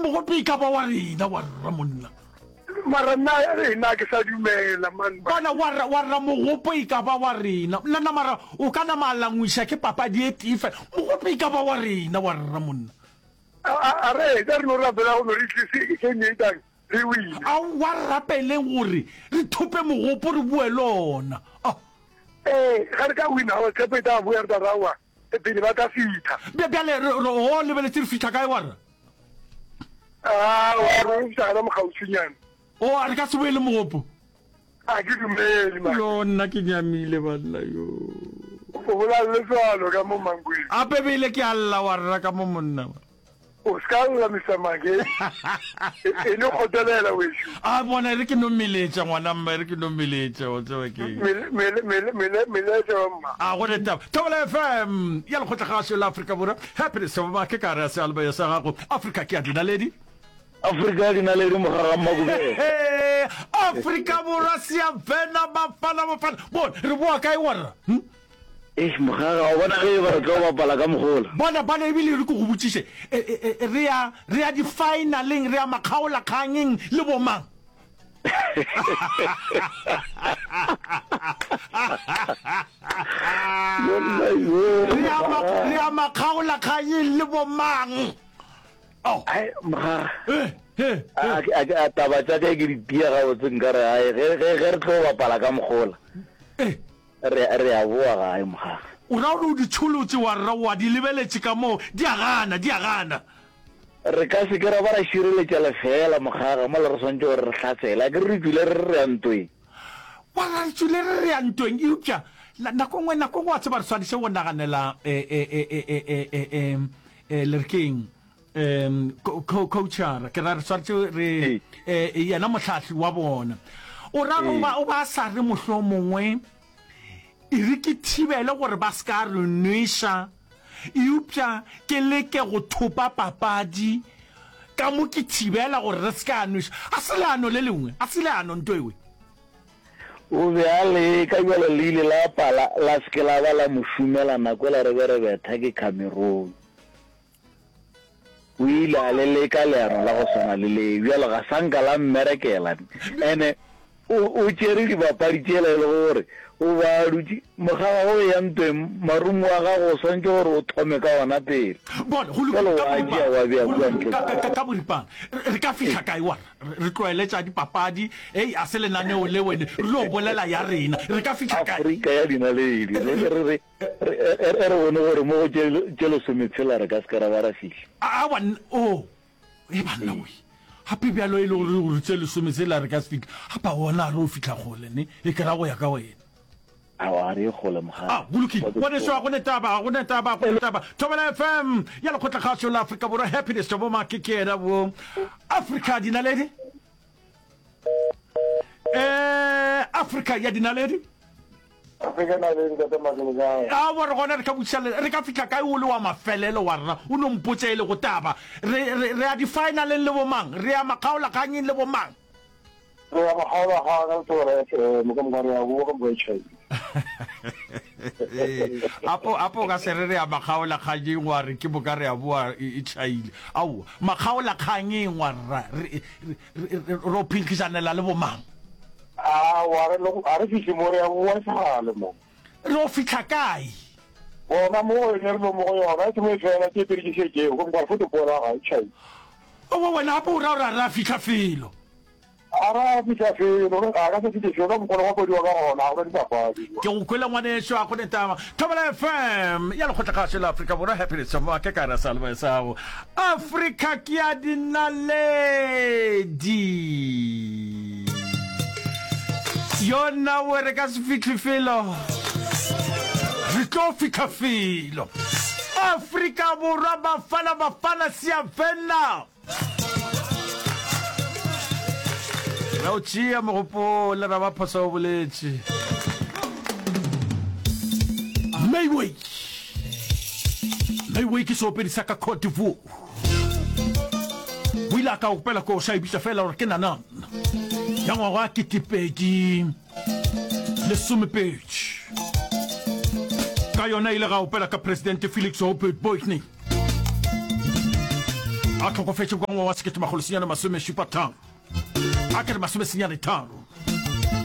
Mogope e ka ba wa rena, warra monna. Mara nna nna ke sa dumela man. Bona warra warra mogopo e ka ba wa rena. Nna na mara o ka nama a langwiša ke papadi e tee fela. Mogopo e ka ba wa rena warra monna. A a re etsa re no rapela go no re tlise game e tlang re wine. Aowa re rapeleng gore re thope mogopo re boe le ona. Ah. Ee ga re ka wina aowa tshepo e tla boya re tla re aowa pele ba tla fitha. Bjale re re o lebeletse re fihla kae warra? Aowa, re fihla gona mokgauswinyana. O, a re ka se boele mogopo? A ke dumele, man. Yo, nna ke nyamile, banna, yo. O bolaya le letswalo ka mo Mankweng. Gape bele ke a lla wa rra ka mo monna. O se ka lla, Mister Make. E no kgotelela, wešo. A bona, e re ke no meletša, ngwana mma, e re ke no meletša, wa tseba ke. Mele, mele, mele, mele, meletša wa mma. A go ne taba. Thobela FM ya Lekgotlakgašo la Afrika Borwa. Happiness ya Bomake ka gare ya seyalemoya sa gago. Afrika ke ya dinaledi. Afrika ya dinaledi mogaga Mmakubele. Afrika Borwa siyavena bafana bafana. Bona re boa kae warra? Hm? Eish mogaga wa bona ge e ba re tlo bapala ka mogola. Bona bona ebile re ke go botšiše e, e, e, re ya re ya di-finaleng re ya makgaolakgangeng le bomang? Re ya makgaolakganyeng le bomang? Oh. Eh, a taba tša ka ke di tia gabotse nka re ae ge re tlo bapala ka mogola eh. re a boa gae mogaga o ra gore o di tšholotše wa rra wa di lebeletše ka moo di a gana di a gana Re ka se ke ra ba ra šireletša lefeela, mogaga, mola re swanetše gore re hlasele. A ke re re tšwile re re re ya ntweng? Wa ra re tšwile re re ya ntweng, eupša nako nngwe, nako nngwe wa tseba re swanetše go naganela e, e, e, e, e, e, e, e, e, le re keng, um, coachara, ke ra re swanetše re, e, yena mohlahli wa bona. O ra o ba, o ba sa re mohlomongwe, E re ke thibele gore ba se ka re nweša, eupša ke leke go thopa papadi ka mo ke thibela gore re se ka nweša. A se leano le lengwe, a se leano nto ewe. O be a leka bjalo le ile la pala la se ke la ba la mo šomela nako ela re be re betha ke Cameroon. O ile a le leka leano la go swana le le, bjalo ga sa nka la mmerekela. Ene o, o tšere dibapadi tšela e lego gore o ba a dutše mogaga go eya ntweng, marumo a gago o swanetše gore o thome ka ona pele. Bona, go Bjalo lokile, ka wa a tšea boripana, wa bea go kua lokile, ntle ka, kua. ka, ka, ka boripana, re, re ka fihla kae wa re, re tlwaele tša dipapadi, hei, a se lenaneo le wene, re yo bolela ya rena, re ka fihla kae? Afrika ya dinaledi, re, re, re, Re, e, e re bone gore mo go tše, tše lesometshela re ka se ke ra ba ra fihla. Aowa, nna, oo, e banna we. Gape bjalo e le gore gore tše lesometshela re ka se fihle. Gape aowa, na re o fihla kgole, ne? E ke ra go ya ka wena. Aowa, ga re ye kgole, mogale. A, go lokile. Ngwaneso, ga go ne taba, ga go ne taba, ga go ne taba. Thobela FM ya Lekgotlakgašo la Afrika Borwa, Happiness Jobo Make ke yena wo. Afrika dinaledi. Eh, Afrika ya dinaledi. Afrika naledi ntate Makele kae? Aowa re gona re ka botšiša le re ka fihla kae o le wa mafelelo wa rena o no mpotša e le go taba re re re ya di-finaleng le bomang re ya makgaolakganyeng le bomang Re ya makgaolakgang ka Thobela FM ka moka re ya boa ka moka e tšhaile. Apo apo o ka se re re ya makgaolakganyeng wa re ke moka re ya boa e e tšhaile aowa makgaolakganyeng wa rra re re re ro phenkgišanela le bomang Aowa, re lo, ga re fihle mo, re ya boa e segale mo. Re yo fihla kae? Gona mo go yone re lo mo go yona, e sengwe e fela, tše pedi ke šetšego, gomme ka re fote poela gae, tšhai. Owe wena gape o ra gore ga re a fihla felo. Ga re a fihla felo, re, ga ka se fihle felo, ka mokgwa go bapadiwa ka gona, ga go na dipapadi. Ke go kwele ngwaneso, ga go ne taba. Thobela FM ya Lekgotlakgašo la Afrika Borwa, Happiness Make ka ra salve sa gago. Afrika ke ya dinaledi. Yo nna we re ka se fihle felo. Re tlo fihla felo. Afrika Borwa Bafana Bafana Siyavena. Re o tšea mogopole ra ba phosa o boletše. Mayway. Mayway ke seopedi sa ka Cote d'Ivoire. O ile a ka opela koša e bitša fela gore ke Nanan ya ngwaga wa 2020. Ka yona ile ga opela ka Presidente Felix Houphouët-Boigny. A hlokofetše kwa ngwaga wa 1973. A ke re 93.